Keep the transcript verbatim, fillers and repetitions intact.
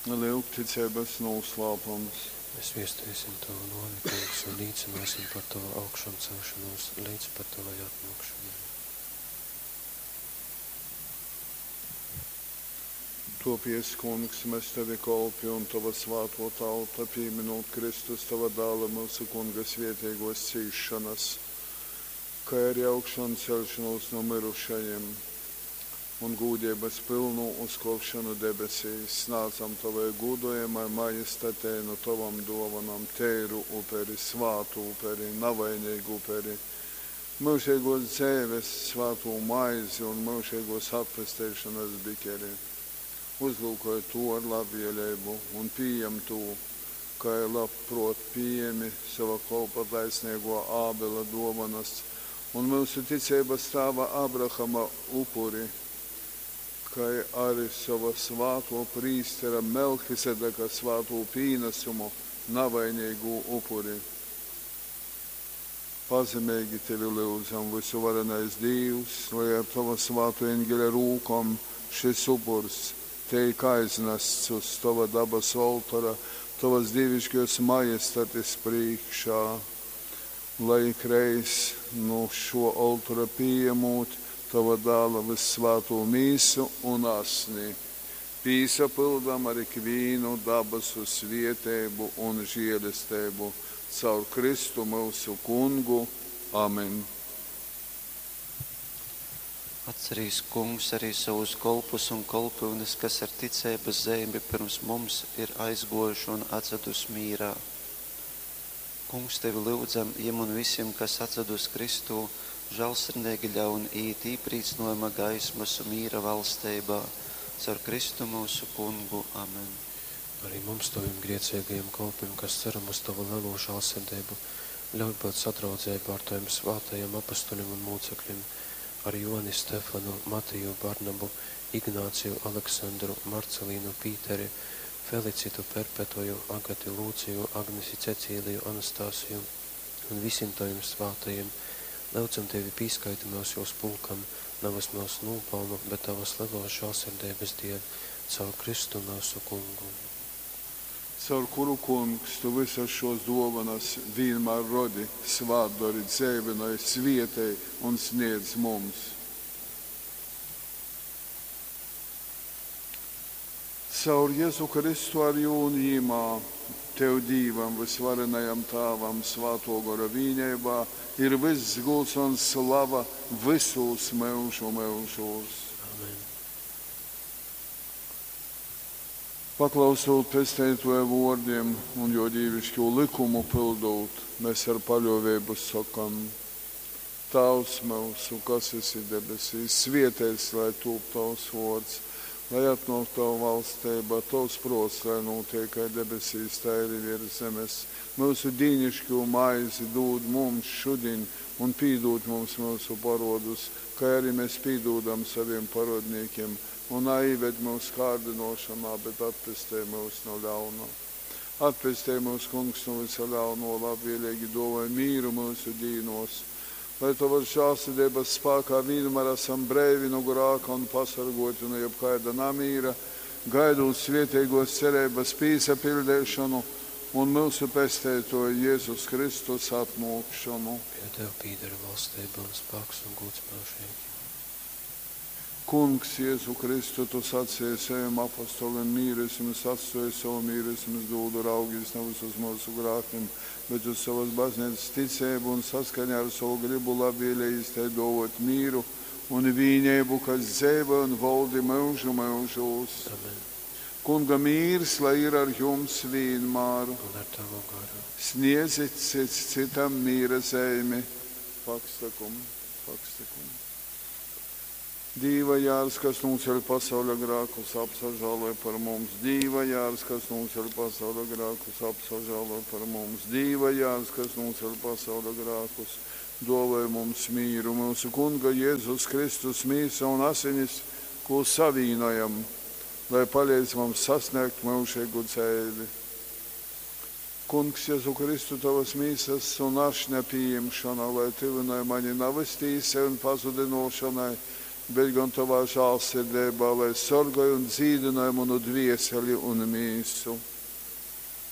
Lyugticeibas nūslāpums. Mēs viesteisim Tavu nōvi, Kungs, un līcināsim par Tavu augšamcelšanos līdz pat Tavai atnōkšanai. Topies, Kungs, mēs Tevi kolpi un Tava svāto tauta, pīminūt Kristus Tava dāla mūsu Kunga svietīgos cīšanas, kā arī augšancelšanos no mirušajiem un gūdības pilnu uzkopšanu debesīs, snācam Tavai gūdojamai majestatei no Tavam dovanam teiru uperi, svātu uperi, navainīgu uperi, mūžīgos dzēves svātū maizi un mūžīgos atpesteišanas bikeri. Uzlūkoj to ar labvēlību un pieņem to, kā labprot pieņemi sava kolpa taisnīgo Ābela dovanas un mūsu ticības tēva Abrahama upuri, kā arī sava svāto prīstera Melhisedeka svāto pīnesumu, navainīgu upuri. Pazemīgi tevi lūdzam, visuvarenais Dīvs, lai ar tava svāto eņģeļa rūkom šis upurs teik aiznests uz tava dabas oltora, tavas dievišķos majestatis priekšā, lai ikreiz no šo oltora pieņemot tava dāla vissvāto mīsu un asni, pīsapildam ar ikvīnu dabasu svietēbu un žēlestību caur Kristu mūsu kungu. Amen. Atcerīs, Kungs, arī savus kolpus un kolpyunes, kas ar ticeibas zeimi pirms mums ir aizgojuši un atsedus mīrā. Kungs, tevi lūdzam, jiem un visiem, kas atsedus Kristū, žālsirdīgi ļaun iet īprīcnojuma gaismas un mīra valsteibā, caur Kristu mūsu kungu. Amen. Arī mums, taviem griecīgajiem kolpiem, kas ceram uz tavu lielo žālsirdību, ļauj būt sadraudzībā ar taviem svātajiem apustuļiem un mūcekļiem, ar Joni, Stefanu, Matiju, Barnabu, Ignāciju, Aleksandru, Marcelīnu, Pīteri, Felicitu, Perpetuju, Agati, Lūciju, Agnesi, Cecīliju, Anastasiju un visiem taviem svātajiem. Lūdzam tevi pīskaiti mūs jūs pulkam, nevis mūsu nopelnu, bet tavas lielos žālsirdības dēļ, caur Kristu mūsu kungu. Caur kuru, Kungs, tu visas šos dovanas vienmēr rodi, svātdori, dzēvinoj, svietēj un sniedz mums. Caur Jēzu Kristu ar jū un jīmā, Tev Dīvam, visvarenajam Tāvam, svāto gora vīnībā, ir viss gūts un slava visos mūžu mūžos. Amen. Paklausot pesteitoja vārdiem un jo dīvišķo likumu pildot, mēs ar paļāvību sakam: Tēvs mūsu, kas esi debesīs, svietēts, lai tūp tavs vārds, lai atnāk tava valstība, tavs prots, lai notiek kā debesīs, tā arī virs zemes. Mūsu dīnišķo maizi dod mums šodien un pīdod mums mūsu parodus, kā arī mēs pīdodam saviem parodniekiem, un aived mūs kārdinošanā, bet atpestē mūs no ļauna. Atpestē mūs, Kungs, no visa ļauno, labvēlīgi dāvāj mīru mūsu dīnos, lai tavas žēlsirdības spēkā vienmēr esam brīvi no grāka un pasargoti no jebkāda namīra, gaidot svētīgos cerības pīsapildīšanu un mūsu pestētoju Jēzus Kristus atnākšanu. Pie Tev pīdara valstība un spēks un gods mūžīgi. Kungs, Jēzu Kristu, tu sacīji saviem apostoliem, mīru es jums atstāju, savu mīru es jums dodu, raugīs nevis uz mūsu grākiem, bet uz savas baznīcas ticību un saskaņā ar savu gribu labvēlīgi tai dovot mīru un vīnību, kas dzīvo un valdi mūžu mūžos. Amen. Kunga mīrs, lai ir ar jums vienmēr. Un ar tavu garu. Sniedzit cits citam mīra zeimi. Pakstakum, pakstakum. Dīva jārs, kas nūceļ pasauļa grākus, apsažāloj par mums. Dīva jārs, kas nūceļ pasauļa grākus, apsažāloj par mums. Dīva jārs, kas nūceļ pasauļa grākus, dāvāj mums mīru. Mūsu Kunga Jēzus Kristus mīsa un asinis, ko savīnojam, lai palīdz mums sasniegt mūžīgu dzīvi. Kungs, Jēzu Kristu, tavas mīsas un ašņa pieņemšana, lai tuvinoj mani navas tīsai un pazudinošanai, bet gon tovā žālsirdeibā, lai sorgoj un dzīdynoj munu dvieseli un mīsu.